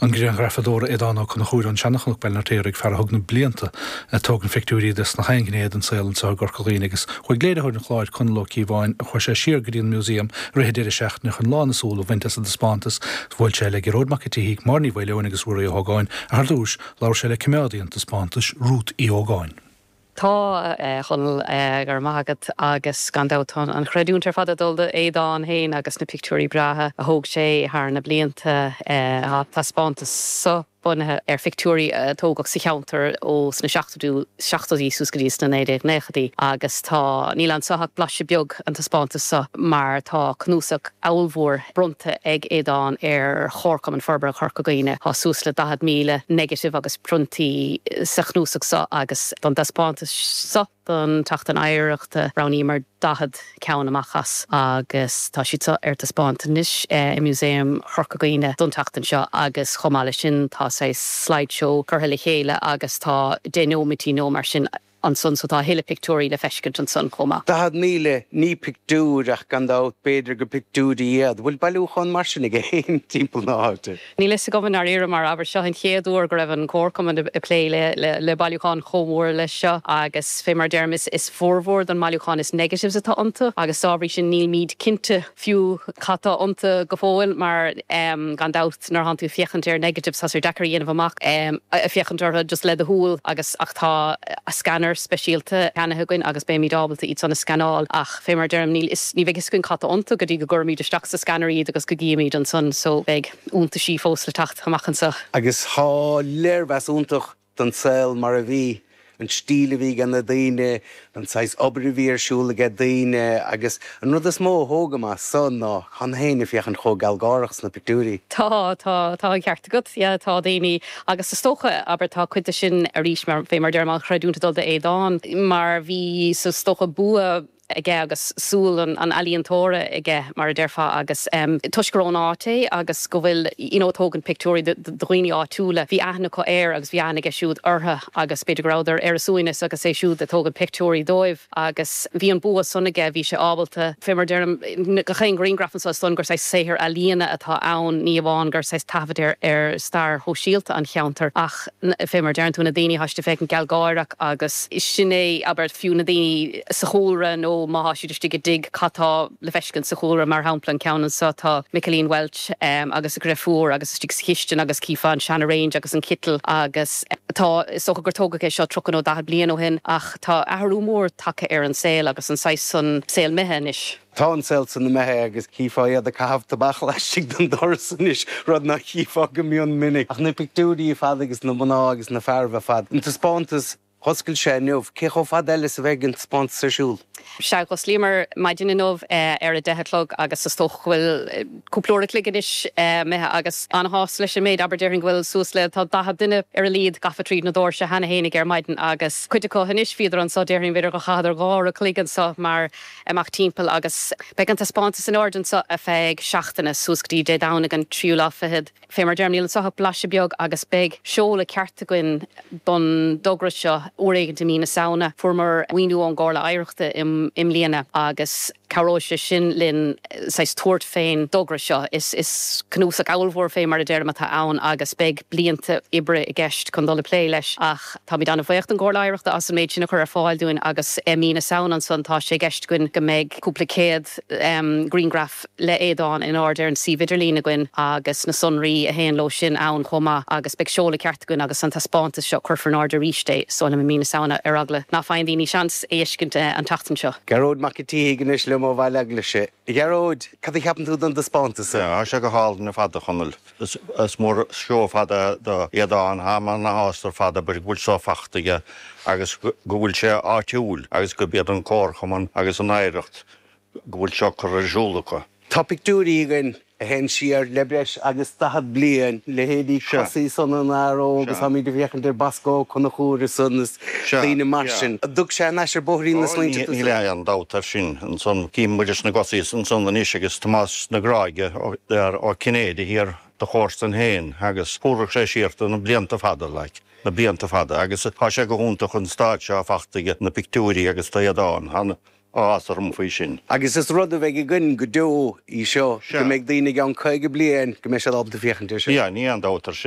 an grianghrafadóra Aodán Ó Conchúir ón Seanchnoc, Baile an Fheirtéaraigh, fear a thug na blianta ag tógaint phictiúirí de sna haon ghné den saol anseo i gCorca Dhuibhne agus chuaigh léiritheoir an chláir, Conall Ó Cíobháin, chuaigh sé siar go dtí an Museum i rith an deireadh seachtaine chun lán a súl a bhaint as an dtaispeántas. Bhuail sé le Gearóid Mac an tSíthigh, Máire Ní Mhaoileoin agus Ruairí Ó hÓgáin ach ar dtús, labhair sé le coimeádaí an taispeántais, Ruth Uí Ógáin. Tá, a Chonaill, go raibh maith agat agus gan dabht tá an chreidiúint ar fad ag dul do Aodán féin agus na pictiúirí breátha a thóg sé thar na blianta. Tá an taispeántas seo bunaithe ar phictiúirí a tógadh sa cheantar ó sna seachtóidí suas go dtí sna 1990idí agus tá, níl anso ach blaiseadh beag an taispeántas seo mar tá cnuasach ollmhór bronnta ag Aodán ar Chomharchumann Forbartha Chorca Dhuibhne. Tá suas le 40,000 negative agus priontaí sa chnuasach seo agus don dtaispeántas seo don tSeachtain Oidhreachta roghnaíomar 40 ceann amach as agus tá siad seo ar taispeáint anois i Músaem Chorca Dhuibhne don tseachtain seo agus chomh maith leis sin tá saghas slideshow curtha le chéile agus tá 10 nóimeataí nó mar sin ansan so tá a thuilleadh pictiúirí le feiscint ansan chomh maith. 40,000, ní pictiúir ach gan dabht b'fhéidir gur pictiúirí iad. Bhfuil bailiúchán mar sin aige féin timpeall na háite? Níl fhios agam i ndáiríre mar abair seo an chéad uair go raibh an Comharchumann ag plé le bailiúchán chomh mór leis seo agus fé mar a deirim is formhór don mbailiúchán is negatives atá iontu agus dá bhrí sin nílmíd cinnte fiú cad tá iontu go fóill mar gan dabht nuair atánn tú ag féachaint ar negatives tá sé deacair a dhéanamh amach ag féachaint orthu just le do shúil agus ach tá scanner speisialta ceannaithe againn agus beimid ábalta iad san a scanáil ach fé mar a deirim níl fhios ní bheidh fhios againn cad tá iontu go dtí go gcuirimid isteach sa scanner iad agus go gcífimid ansan so beidh iontaisí fós le teacht amach anseo. Agus tá léirmheas iontach don saol mar a bhí, an stíl a bhí ag na daoine, an saghas obair a bhí ar siúl ag daoine agus an rud is mó a thógaim as so ná tá na héinne ag féachaint chomh gealgháireach sna pictiúirí. Tá, tá, tá an ceart agat, yeah, tá daoine agus is dócha, abair, tá cuid de sin arís mar, fé mar a deirim, an chreidiúint ag dul d'Aodán mar bhí, so is dócha bua aige agus súil an ealaíontóra aige, mar a déarfá, agus toisc gur ón áit é agus go bhfuil, you know, ag tógaint pictiúirí de dhaoine áitiúla, bhí aithne acu air agus bhí aithne aige siúd orthu agus b'fhéidir go rabhadar ar a suaimhneas agus é siúd ag tógaint pictiúirí dóibh agus bhí an bua san aige, bhí sé ábalta, fé mar a deirim, gach aon ghrianghraf anseo is dóigh liom gur saghas saothar ealaíona atá ann, ní amháin gur saghas taifead ar stair shóisialta an cheantair ach. fé mar a deireann tú, na daoine, tá siad ag féachaint gealgháireach agus sin é, abair, fiú na daoine sa chúlra nó má tá siad istigh i dtigh, cad tá le feiscint sa chúlra, mar shampla, an ceann anseo, tá Michaeline Walsh agus a dheirfiúr agus istigh sa chistin agus chífeá an seana range agus an citeal agus tá, is dócha gur tógadh é seo 30 nó 40 bliain ó shin ach tá athrú mór tagtha ar an saol agus an saghas san saol imithe anois. Tá an saol san imithe agus chífeá iad ag caitheamh tobac laistigh den doras anois, rud nach chífeá go mion minic. Ach na pictiúirí ar fad agus na mná agus na fearaibh ar fad. An taispeántas, dh'oscail sé inniu. Cé chomh fada eile is a bheidh an taispeántas ar siúl? Sea, dh'osclaíomar maidin inniu ar a deich a chlog agus is dócha go bhfuil cúpla uair a chloig anois imithe agus an-shásta leis an méid. Abair, déarfainn go bhfuil suas le, tá 40 duine ar a laghad gafa tríd na doirse cheana fhéinig ar maidin agus cuid acu anois bhíodar anseo, déarfainn b'fhéidir gur chaitheadar dhá uair a chloig anseo mar amach timpeall agus beidh an taispeántas in airde anseo ar feadh seachtaine, suas go dtí Dé Domhnaigh an tríú lá fichead. Fé mar a deirim, níl anseo ach blaiseadh beag agus beidh seoladh ceart againn don dtogra seo uair éigint i mí na Samhna. Fuaireamar maoiniú ón gComhairle Oidhreachta i mbliana agus cabhróidh sé sin linn saghas tabhairt fén dtogra seo. Is cnuasach ollmhór fé mar a deirim atá ann agus beidh blianta oibre i gceist chun dul ag plé leis ach, Táimid an-bhuíoch don gComhairle Oidhreachta as an méid sin a chur ar fáil dúinn agus i mí na Samhna ansan tá sé i gceist againn go mbeidh cúpla céad grianghraf le Aodán in airde ar an suíomh idirlín againn agus na sonraí a théann leo sin ann chomh maith agus beidh seoladh ceart againn agus an taispeántas seo cuirfear in airde arís é is dóigh liom i mí na Samhna ar eagla ná faigheann daoine seans é fheiscint an tseachtain seo. Gearóid Mac an tSíthigh anois liom ó Bhaile Eaglaise. A Ghearóid, cad a cheapann tú den dtaispeántas seo? Tá sé go hálainn ar fad, a Chonaill. Is mór an seó ar fad é do Aodán. Táim ana-shásta ar fad abair go bhfuil seo fachta aige agus go bhfuil sé áitiúil agus gurb iad an Comharchumann agus an Oidhreacht go bhfuil seo curtha ar siúl acu. Tá pictiúirí againn a théann siar le breis agus 40 bliain, leithéidí Cosaí sona an fhear óg agus táimid ag féachaint ar Bosco Ó Conchúir ansan is daoine mar sin. An dtug sé anuas ar bhóithrín na smaointe tusa? Níl aon dabht air sin. Ansan cím muid sna Gosaí ansan anois agus Tomás na Gráige Ó Cinnéide thiar do chomharsain féin agus thabharfadh sé siar do na blianta fada like, na blianta fada agus tá sé go hiontach an staid seo fachta aige, na pictiúirí agus tá Aodán, an-áthas orm faoi sin. Agus is rud a bheidh againn go deo í seo, go mbeidh daoine i gceann 50 bliain go mbeidh siad ábalta féachaint air seo. Yeah, ní aon dabht air sin.